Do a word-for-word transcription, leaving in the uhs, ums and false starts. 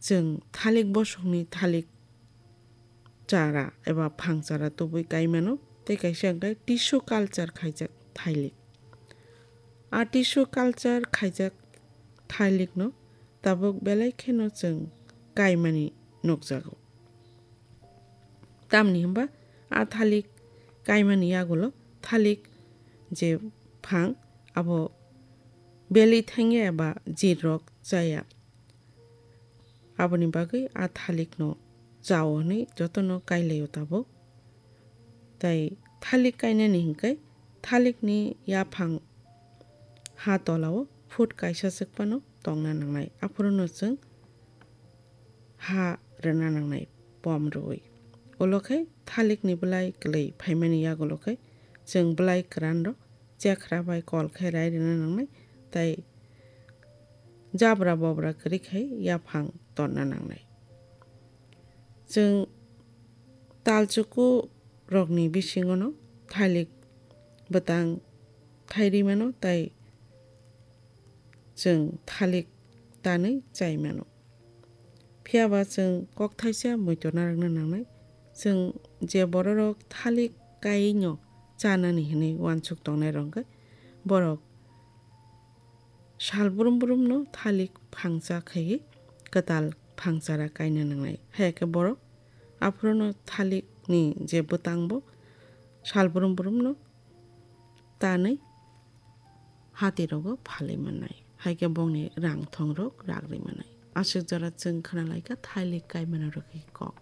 chwng thalik bosongni thalik chara eba phang chara tubui kai mano, tei kaisa hwnkhe tissue culture khaijak thalik. A tissue culture khaijak thalikno tabuk belai kheno chwng kaimani nukjago. Tamni hwnba a thalik kaimani yagulo thalik je phang abo beli thangya eba jirrok chaya. Aboni bagwi a thalikno chao hwnwi jotono kailaio tabuk. Tai thalik kainani hwnkhe thalikni yaphang ha tolao foot kaisa chwkphano tongna nangnai. Aphuru no chwng ha rwna nangnai pom rwui. Ulo khe thalikni bwlai kwlwi phaimani yagulo khe chwng bwlai kwranrok chekhra bai kol khe rai rwna nangnai, tai jabra bobra kwrwi khai yaphang tonna nangnai. Chwng talchuku rokni bisingono thalik bwtang thai ri mano, tai chwng thalik tanwi chai mano. Phiya ba chwng kok thaisa muitu narwkna nangnai. Chwng je bororok thalik kaino chanani hwnwi uansuk tongnai rok khe borok sal brum brumno thalik phangcha khaiwi kwtal phangchara kaina nangnai. Haya khe borok aphuruno thalikni je bwtangbo sal brum brumno tanwi hatirogo phalwi mannai. Hai khe bongni rang thongrok ragri mannai. Aswk jora chwng khwnalaikha thalik kaimano rwgwi kok.